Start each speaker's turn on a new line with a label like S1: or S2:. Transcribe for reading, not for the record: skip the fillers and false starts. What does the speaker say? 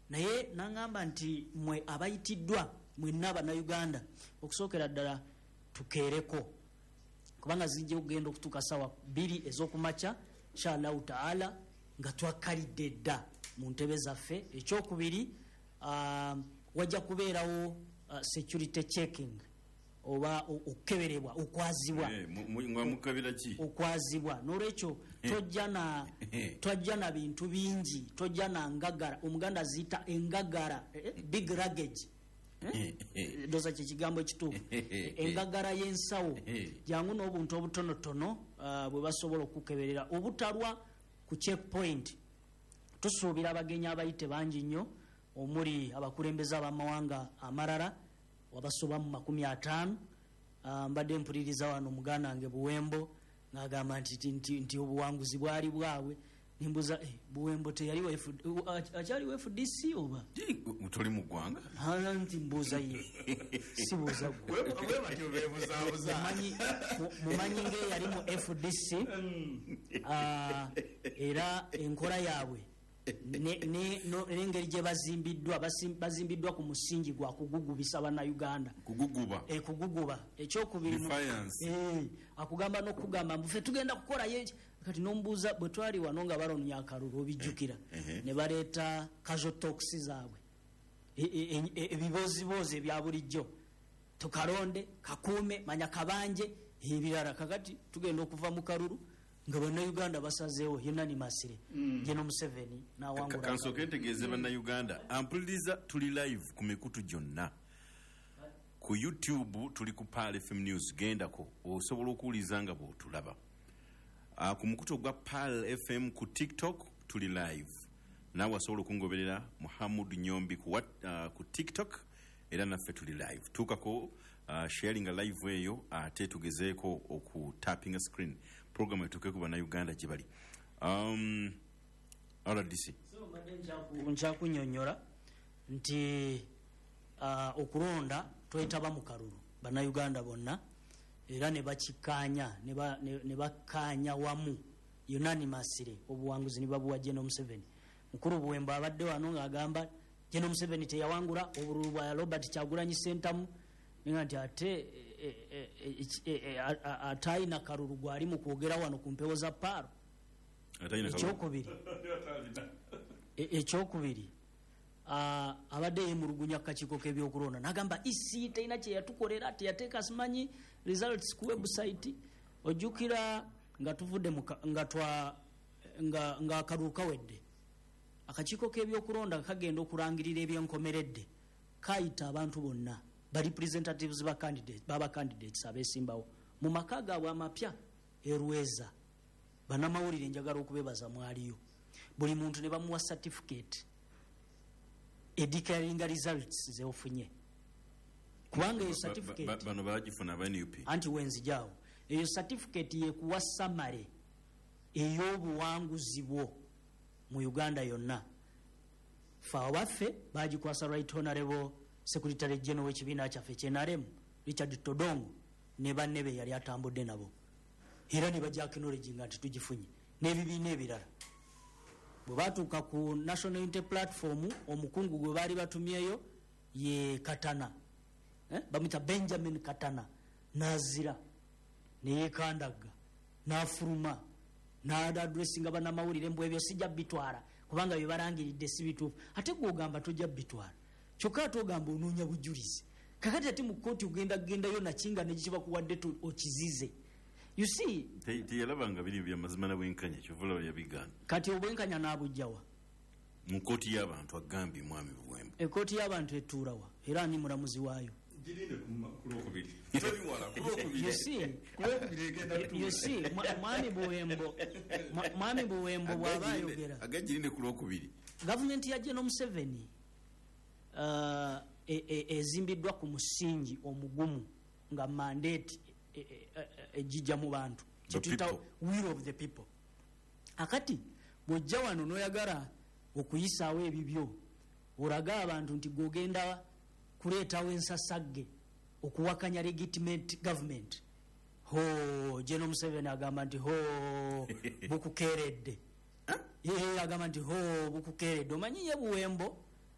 S1: Naye naŋŋamba nti mwe abayitiddwa mwenna Abannayuganda, okusookera ddala tukeereko, kubanga zijja okugenda okutuuka sawa 2 ez'okumakya, inshallahu taala, nga twakkalidde dda mu ntebe zaffe. Ekyokubiri, wajja kubeerawo security checking oba okukeberebwa, okwazibwa.
S2: Nga mukabira ki?
S1: Okwazibwa. Nolwekyo tojja na bintu bingi, tojja na ngagara. Omuganda aziyita engagara, big luggage. Ndoza kye kigambo ekituufu. Engagara y'ensawo. Jangu n'obuntu obutonotono bwe basobola okukeberera obutalwa ku checkpoint. Tusuubira abagenyi abayite bangi nnyo, omuli abakulembeze ab'amawanga amalala wabasoba mu 50. Mbadde mpuliriza wano muganda wange Buwembo ng'agamba nti obuwanguzi bwali bwabwe. Nimbuza, Buwembo teyali wa akyali wa FDC oba?
S2: Toli mu ggwanga?
S1: Nti mbuuza ye, sibuuza ggwe.
S3: We batyo beebuzaabuza.
S1: Mumanyi ng'eyali mu FDC, era enkola yaabwe n'engeri gye bazimbiddwa, bazimbiddwa ku musingi gwa kugugubisa Bannayuganda.
S2: Kuguguba.
S1: Kuguguba. Ekyokubiri
S2: Defiance.
S1: Akugamba n'okugamba mbu ffe tugenda kukola ye. Kati n'omubuuza bwe twali wano nga balonnya akalulu, obijjukira, ne baleeta casual talks zaabwe, ebibooziboozi ebya bulijjo, tukalonde, kakuume, manya kabanje, ebirala. Kakati tugenda okuva mu kalulu nga Bannayuganda basazeewo unanimously, General Museveni n'awangula.
S2: Kansooke ntegeeze Bannayuganda ampuliriza, tuli live ku mikutu gyonna. Ku YouTube tuli ku Pearl FM News, gendako osobola okuwuliza nga bw'otulaba. Ku mukutu ogwa Pearl FM ku TikTok tuli live, naawe asobola okungoberera Muhammad Nyombi ku TikTok, era naffe tuli live. Tuukako, sharinga live eyo, ate tugezeeko okutapinga screen program etuuke ku Bannayuganda gye bali. RDC.
S1: So mbadde nkyakunyonnyola nti okulonda twetaba mu kalulu Bannayuganda bonna, era ne bakikkaanya, ne bakkaanya wamu unanimously, obuwanguzi ne babuwa General Museveni. Mukulu Buwembo abadde wano ng'agamba General Museveni teyawangula obululu bwa Robert Kyagulanyi Ssentamu, nga nti ate atayina kalulu gwali mu kwogera wano ku mpewo za Paaro. Ekyokubiri, abadde yemulugunya ku kakiiko k'ebyokulonda n'agamba EC terina kye yatukolera, teyateeka simanyi results ku website. Ojjukira nga tuvudde mu nga twa, nga, nga akalulu kawedde, akakiiko k'ebyokulonda kagenda okulangirira ebyenkomeredde, kayita abantu bonna ba representatives ba candidate, baba candidates abeesimbawo mu maka gaabwe amapya e Lweza. Bannamawulire njagala okubebaza mwaliyo, buli muntu ne bamuwa certificate edeclaringa results zeofunye, kubanga eyo certificate
S2: Bano bagifuna aba NUP.
S1: Anti wenzijaawo, eyo certificate yekuwa summary ey'obuwanguzi bwo mu Uganda yonna. Ffe abaffe bagikwasa Right Honorable Secretary General w'ekibiina kyaffe ekye NRM Richard Todongo ne banne be yali atambudde nabo, era ne bajja acknowledginga nti tugifunye n'ebibiina ebirala. Bwe batuuka ku National Unity Platform, omukungu gwe baali batumyeyo ye Katana, bamuyita Benjamin Katana, n'azira neyeekandagga n'afuluma n'adressinga bannamawulire mbu ebyo sijja bitwala kubanga bye balangiridde si bituufu. Ate gw'ogamba tojja bitwala, kyokka ate ogamba onoonya bujulizi. Kakati ate mu kkooti ogenda kugendayo nakinga ne kibakuwadde okizize. You see,
S2: Teyalabanga biri bya mazima na bwenkanya, kyova olaba yabigaana.
S1: Kati obwenkanya n'abujjawa?
S2: Mu kkooti y'abantu, agambye mwami Buwembo.
S1: Ekkooti y'abantu etuulawa era ani mulamuzi waayo?
S3: Girinde ku Lwokubiri, toli wala, ku Lwokubiri.
S1: You see,
S3: Ku Lwokubiri egenda kutuula.
S1: You see, mwami Buwembo bw'aba ayogera,
S2: Agagirinde ku Lwokubiri.
S1: Gavumenti ya General Museveni ezimbiddwa ku musingi omugumu nga mandate ejijja mu bantu,
S2: The
S1: kyetuyita
S2: people.
S1: will of the people. Akati bw'ojja wano n'oyagala okuyisaawo ebibyo, olaga abantu nti gw'ogenda kuleetawo ensasagge okuwakanya legitimate government. Ho, General Museveni agamba nti ho, bukukeeredde. Ye agamba nti ho, bukukeeredde. Omanyi ye Buwembo